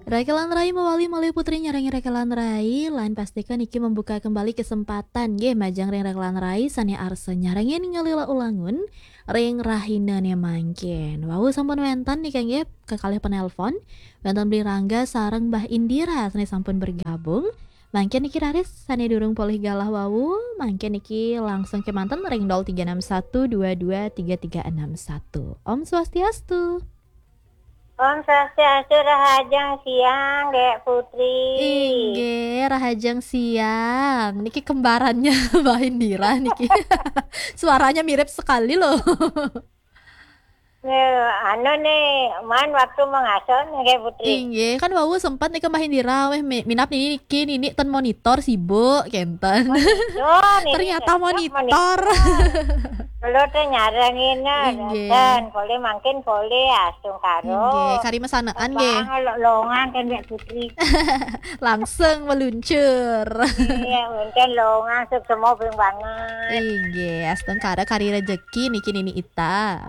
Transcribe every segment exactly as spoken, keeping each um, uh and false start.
Rakelan Rai mawali malih Putri nyarengin Rakelan Rai, lan pastika niki membuka kembali kesempatan nggih majeng ring Rakelan Rai sane arsa nyarengin ngalila ulangun ring rahinane mangkin. Wau sampun wenten nika nggih kekalih penelpon, wenten Beli Rangga sareng Mbah Indira sane sampun bergabung. Mangkin niki raris sane durung polih galah wau, mangkin niki langsung kemanten ring nol tiga enam satu dua dua tiga tiga enam satu. Om Swastiastu. Om Swastiastu, rahajeng siang, Dek Putri. Inggih, rahajeng siang. Niki kembarannya Mbah Indira niki. Suaranya mirip sekali loh. Nggih, anu nih, man waktu mengaso nih, Dek Putri. Inggih, kan wau sempat nih ke Mbah Indira, weh mi-, minap niki nini ten monitor sibuk, kenten. Monitor, nini Ternyata tetap monitor. Monitor. Kalau teh nyarengin, nah, Inggih. Dan boleh mangkin boleh, astungkara. Inggih, kari mesanaan nggih. Bang, lo-, longan kan, Dek Putri. Langsung meluncur. Iya, mungkin longan, suk semua bing banget. Inggih, astungkara kari rejeki niki nini ita.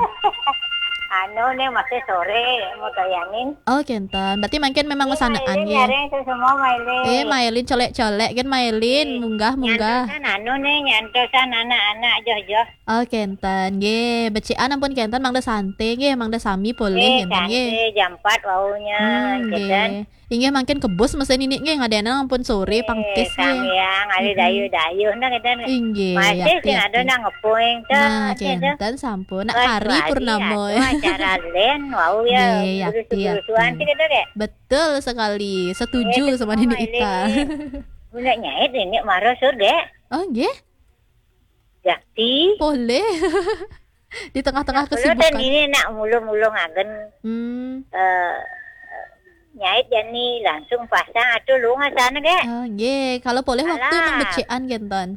Anu nih masih sore, mau tayangi. Oh, kenten. Berarti mangkin memang mesanaan nggih. Nyareng suk semua, Mailin. Eh, Mailin colek-colek kan Mailin, Eh, munggah, munggah. Nyantosan anu nih, nyantosan anak-anak joh-joh. Oh, kenten. Nggih, becikan ampun kenten, mangda sante nggih, mangda sami polih Eh, kenten nggih. Sante jam empat waunya, Hmm, kenten. Nggih. Inggih mangkin kebus mesen ini nggih, ngadenan ampun sore Eh, pangkis nggih. Sambiang, ari Mm-mm. Dayuh-dayuh nah kenten. Inggih, masih yakti, sing ada yakti. Nang ngepuing tuh, Nah, gitu. Kenten sampun. Nak hari purnama. Aduh, acara len, wau ya, nggih, yakti, gurus-gurusuan yakti. Sih gitu, Dek. Betul sekali, setuju Eh, sama nini ita. Guna nyait ini marah surga. Oh, nggih. Yakti. Boleh. Di tengah-tengah kesibukan. Nah, kalau dan ini nak mulung-mulung agen, Hmm. Eh, nyait jani langsung pasang atau lu ngasana, Dek. Oh, nggih. Kalau boleh waktu alah. Nang becikan kenten.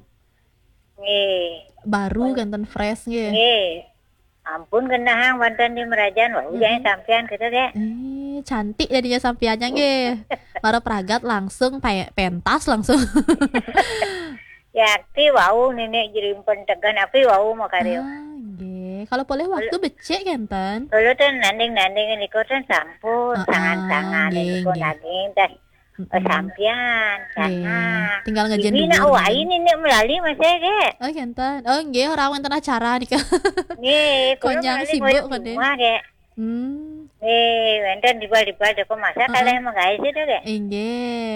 Nggih. Baru kenten fresh nggih. Nggih. Ampun genahang wonten di merajan, wah, mm-mm. Jangan sampean kita, Dek. Eh, cantik jadinya sampeannya nggih. Mara pragat langsung pe-, pentas langsung. Yakti wau nenek jerimpen tegan api wau makarya. Ah, nggih. Kalau boleh waktu becik kenten. Kalau ten nanding-nanding niku ten sampun, ah, tangan-tangan nggih, niku nggih. Naging teh. Mm-mm. Sampean, nggih. Sana. Tinggal ngejen dulu. Ini nak wai nenek melali masih, Dek. Oh, kenten. Oh, nggih, ora wonten acara nika. Nggih, kula konyang melali sibuk koyo kene. Rumah, Dek. Hmm. Nggih, wonten dibal-dibal dek masak. Heeh. Kalih menggawe sih, Dek. Inggih.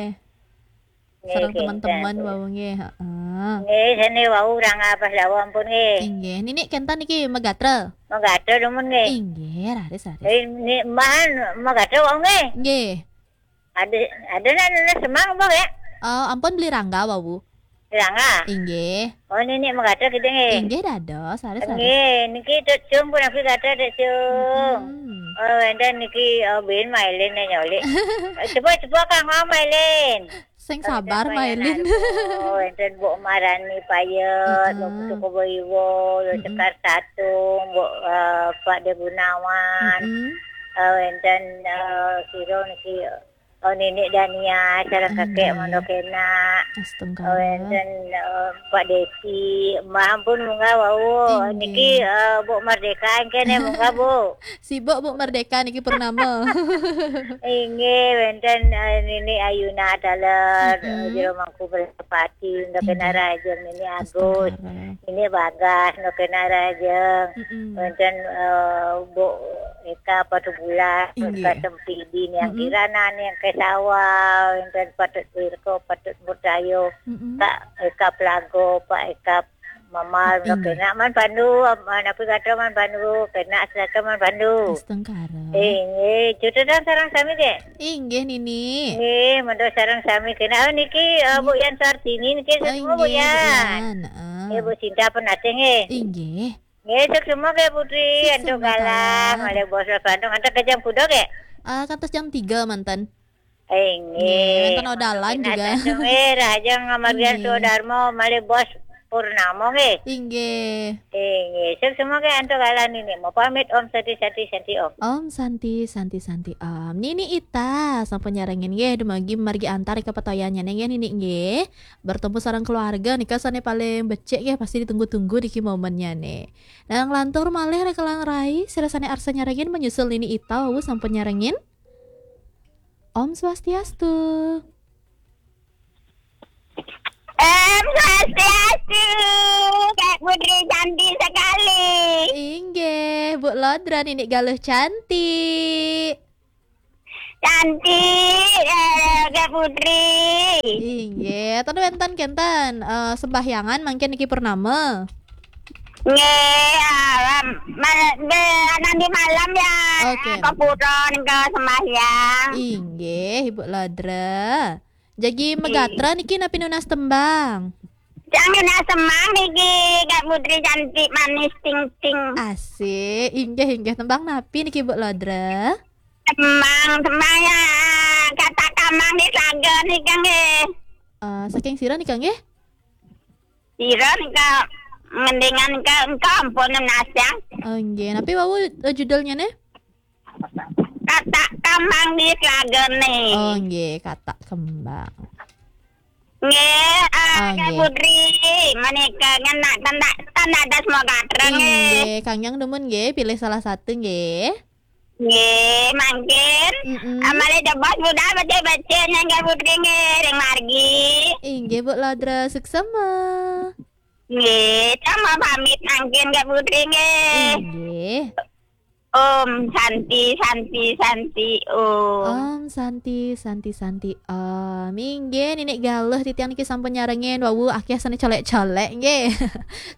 Nggih, sareng teman-teman wau nggih, heeh. Nggih, sene wau urang apa dawa ampun nggih. Inggih, nini kenten niki megatra. Megatra dumun nggih. Inggih, raris, raris. Eh, ni, man, megatra wau nggih. Nggih. Ada, ada nak, nak semang apa ya? Eh, ampun Beli Rangga wau. Beli Rangga? Inggih. Oh, nini megatra kita nggih. Inggih, dados, raris, raris. Nggih, niki Dek Jung pun aku gatra Dek Jung. Mm-mm. Oh, wonten niki, oh, bin Mailin nyolik. Eh, coba, coba Kang Mailin. Sing sabar, Mailin. Oh, enten Mbok Marani Payet, heeh. Mbok Putu Kobo Iwo, Mbok, mm-mm. Sekar Tatung, Mbok, eh, Pak De Gunawan. Mm-mm. Eh, enten, eh, sira niki, oh, Nenek Dania, sareng kakek, mm-mm. Mondo kena. Astungkara. Oh, enten, eh, Pak Desi, Mbah ampun munggah wau. Inggih. Niki, eh, Mbok Merdeka engkene munggah, Bu. Sibuk, Bu Merdeka niki purnama. Inggih, wonten, eh, Nini Ayuna taler, mm-mm. Eh, Jero Mangku Prasepati, Ndok, inggih. Kena Rajeng, Nini Agus, astungkara. Nini Bagas, Ndok kena Rajeng. Mm-mm. Wonten, eh, Bu Eka Patubulan, inggih. Eka Sempidi, Niang, mm-mm. Kirana, Niang Kesawa, wonten Patut Wirko, Patut Murtayo, mm-mm. Kak Eka Plago, Pak Eka Mamal, inggih. Kena man Pandu, man apa kata man Pandu, kena seraka man Pandu. Astungkara. Eh, eh, cutetan sareng sami, Dek. Inggih, Nini. Nggih, mantap sareng sami kena. Oh, niki, eh, Bu Yan Sartini niki, oh, semua Bu Yan. Yan, heeh. Eh, Bu Sinta pun ada nggih. Inggih. Nggih, sukses semua nggih Putri, sukses antuk semua, galah, Kak. Malih bos Bandung, antuk ke jam kuda nggih? Eh, kantos jam tiga manten. Inggih. Nggih, wonten odalan juga. Nggih, rahajeng ngamargian, nggih. Swadarma malih bos Purnama nggih. Inggih. Inggih. Sip semua nggih antuk galah nini. Mau pamit Om Santi Santi Santi Om. Om Santi Santi Santi Om. Nini Ita sampun nyarengin nggih dumugi margi antar ika patoyannya nggih Nini nggih. Bertemu sareng keluarga nika sane paling becik nggih pasti ditunggu-tunggu niki momennya nih. Nah, nglantur malih Rakelan Rai, sira sane arsa nyarengin menyusul Nini Ita wau sampun nyarengin. Om Swastiastu. Om Swastiastu, Kak Putri cantik sekali. Inggih, Bu Lodra niki galuh cantik. Cantik, eh, Kak Putri. Inggih, ten wenten kenten eh, sembahyangan mangkin niki purnama. Nggih, ah, mal- be- nanti malam ya. Oke. Ke pura ke sembahyang. Inggih, Ibu Lodra. Jagi megatra niki napi nunas tembang? Jangan semang niki, Kak Putri cantik manis ting ting. Asik, inggih inggih tembang napi niki Bu Lodra? Semang, semang ya. Kata kamang di Telaga nika nggih. Eh, saking sira nika nggih? Sira nika mendingan ke engko ampun nunas ya. Oh, inggih. Napi wau eh, judulnya nih? Kata kamang di Telaga nih. Oh, inggih, kata kembang. Nggih, ah, Ah, Kak nggih. Putri, menika ngenak tanda tanda das mau gatra nggih. Inggih, kangnyang demen nggih, pilih salah satu nggih. Nggih, mangkin. Mm-mm. Amale jebos budal becik-becik nggih Kak Putri nggih ring margi. Inggih Bu Lodra, suksema. Nggih, sama pamit mangkin Kak Putri nggih. Inggih. Om Santi Santi Santi Om. Om Santi Santi Santi Om. Inggih, niki galuh titiang niki sampun nyarengin. Wau akeh sane colek-colek nggih.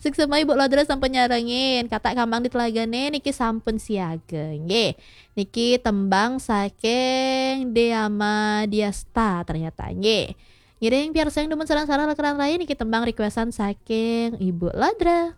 Suksema Ibu Lodra sampun nyarengin. Kata kambang di Telagane niki sampun siaga nggih. Niki tembang saking Deama Diasta ternyata nggih. Ngiring piarsayang dumun sareng-sareng lekeran raya niki tembang requestan saking Ibu Lodra.